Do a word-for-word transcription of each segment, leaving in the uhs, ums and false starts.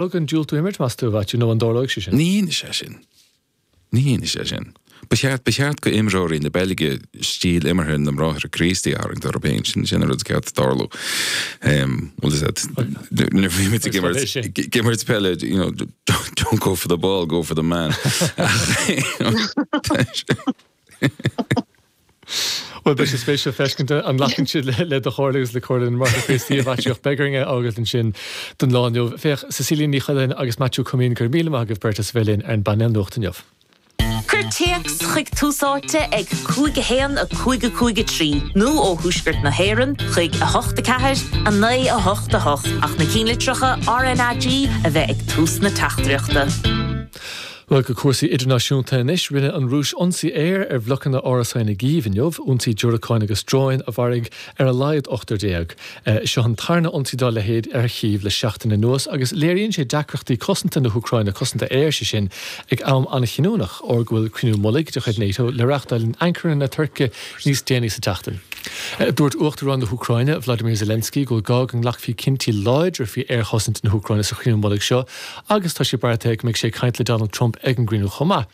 An diúltú imirt meas tú bheit nó an dtarlóidh sé sin? Ní sé sin. Ní sé sin. Ba cheart ba cheart go imreoirí na Beilge stíl imeartha na mBráithre Críostaí a tharraingt orthu féin sin sin rud ceart tarlú. Well is that imirt peile you know don't, don't go for the ball, go for the man. Well beidh sé spéisiúil feiscint an nglacann siad le do chomhairle agus le comhairle na mBráithre Críostaí a Mhaitiú beidh orainn é a fhágáil ansin don lá inniu. Féach Cecilia Ní Choileáin agus Maitiú Comín go raibh míle maith agaibh beirt as bheith linn ar an bpainéal nuachta inniu. Cuir téacs chuig Tús Áite ag cúig a haon a cúig a cúig a trí nó ó thuaisceart na hÉireann chuig a hocht a ceathair a naoi a hocht a hocht ach na ceannlitreacha RnaG a bheith ag tús na teachtaireachta. Well go cúrsaí idirnáisiúnta anois rinne an Rúis ionsaí aeir ar bhlocanna árasáin i gCív inniu, ionsaí diúracáin agus dróin a mharaigh ar a laghad ochtar déag. Seo an tarna ionsaí dá leithéid ar Chív le seachtain anuas agus léiríonn sé deacrachtaí cosanta na hÚcráine cosanta aeir sé sin ag am an-chinniúnach óir go bhfuil cruinniú mullaigh de chuid NATO le reáchtáil in Ankara na Tuirce níos déanaí sa tseachtain. Dúirt Uachtarán na hÚcráine Vladimir Zelensky go bhfuil gá go nglacfaí cinntí láidre faoi aerchosaint na hÚcráine sa chruinniú mullaigh seo agus tá sé beartaithe go mbeidh sé ag caint le Donald Trump ag an gcruinniú chomh maith.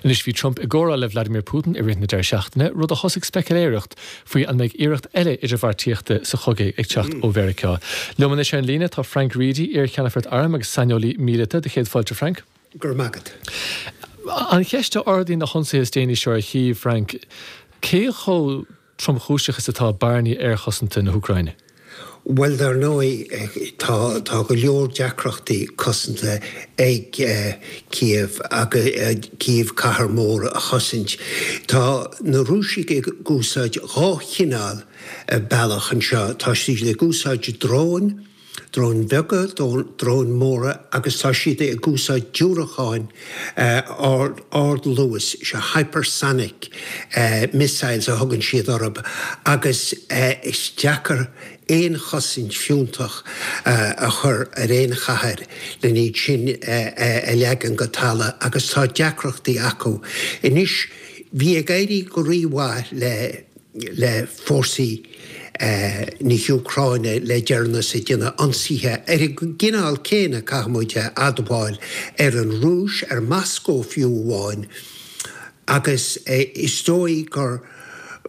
Anois bhí Trump i gcomhrá le Vladimir Putin i rith na deireadh seachtaine, rud a thosaigh speiciléireacht faoi an mbeidh iarracht eile idirbheartaíochta sa chogadh ag teacht ó Mheiriceá. Liom anois ar an líne tá Frank Reidy, iar-cheannfort airm agus saineolaí míleata do chéad fáilte Frank. Go raibh maith agat. An cheist a ardaíonn na hionsaithe is déanaí seo ar Chív, Frank, cé chomh tromchúiseach is atá bearnaí aerchosanta na hÚcráine? Bhuel dar ndóigh tá tá go leor deacrachtaí cosanta ag Cív agus Cív cathair mór a chosaint. Tá na Rúisigh ag úsáid dhá chineál bealach anseo. Tá siad ag úsáid dróin, dróin bheaga, dróin mhóra agus tá siad ag úsáid diúracáin ardluais, sé hypersonic missiles a thugann siad orthu agus is deacair aon chosaint fiúntach a chur ar aon chathair len iad sin a leagan go talamh agus tá deacrachtaí acu. Anois bhí ag éirí go rímhaith le le fórsaí na hÚcráine le deireanas ag déanamh ionsaithe ar an gcineál céanna caithfimid a admháil ar an Rúis, ar Moscó fiú amháin agus is dóigh gur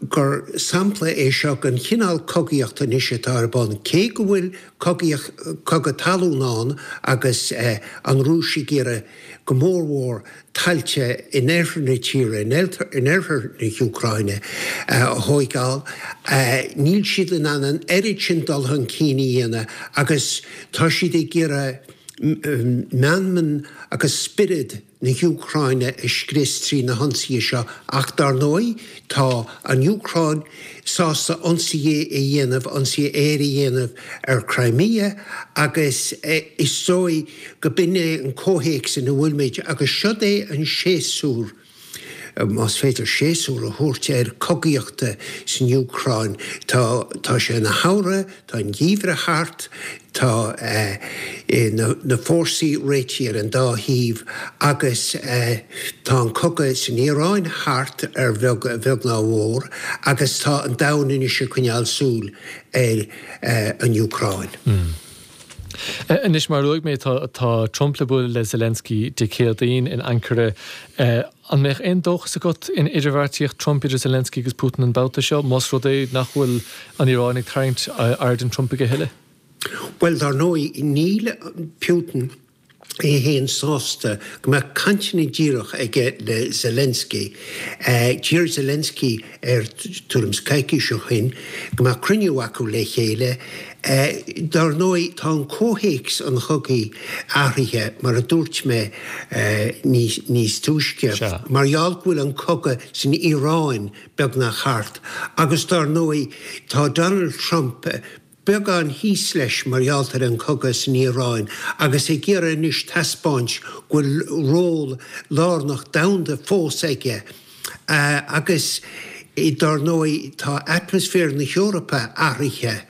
gur sampla é seo den chineál cogaíochta anois atá ar bun, cé go bhfuil cogaíocht cogadh talún ann agus an Rúis ag iarraidh go mórmhór tailte in oirthear na tíre, in oirthear na hÚcráine a thógáil, níl siad in ann an oiread sin dul chun cinn a dhéanamh agus tá siad ag iarraidh meanman agus spiorad na hÚcráine a scrios trí na hionsaithe seo ach dar ndóigh tá an Úcráin sásta ionsaithe a dhéanamh, ionsaithe aeir a dhéanamh ar Crimea agus is dóigh go b'in é an comhthéacs ina bhfuilimid agus seo é an séasúr más féidir séasúr a thabhairt ar cogaíochta san Úcráin. Tá tá sé ina shamhradh, tá an geimhreadh thart, tá na na fórsaí réitithe ar an dá thaobh agus tá an cogadh san Iaráin thart ar bheag a bheag ná a mhór agus tá an domhan anois ag coinneáil súil ar an Úcráin. Anois mar a luaigh mé tá tá Trump le bualadh le Zelensky Dé Céadaoin in Ankara. An mbeadh aon dóchas agat in idirbheartaíocht Trump idir Zelensky agus Putin an babhta seo, más rud é nach bhfuil an Iaráin ag tarraingt aird an Trump a thuilleadh? Well dar ndóigh níl Putin é féin sásta go mbeadh cainteanna díreach aige le Zelensky. D'iarr Zelensky air tuairim is coicís ó shin go mbeadh cruinniú acu le chéile. Dar ndóigh tá an comhthéacs an chogaidh athraithe mar a dúirt mé níos túisce mar gheall go bhfuil an cogadh san Iaráin beagnach thart agus dar ndóigh tá Donald Trump beagán thíos leis mar gheall ar an cogadh san Iaráin agus ag iarraidh anois taispeáint go bhfuil ról lárnach domhanda fós aige agus Dar ndóigh, tá atmaisféar na hEorpa athraithe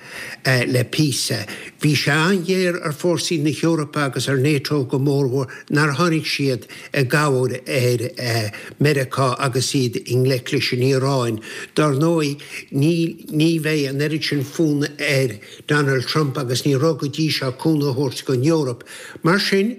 le píosa. Bhí sé an-ghéar ar fórsaí na hEorpa agus ar NATO go mórmhór nár tháinig siad i gcabhair ar Meiriceá agus iad i ngleic leis an Iaráin. Dar ndóigh, ní ní bheidh an oiread sin fonn ar Donald Trump agus ní raibh go dtí seo cúnamh a thabhairt don Eoraip. Mar sin,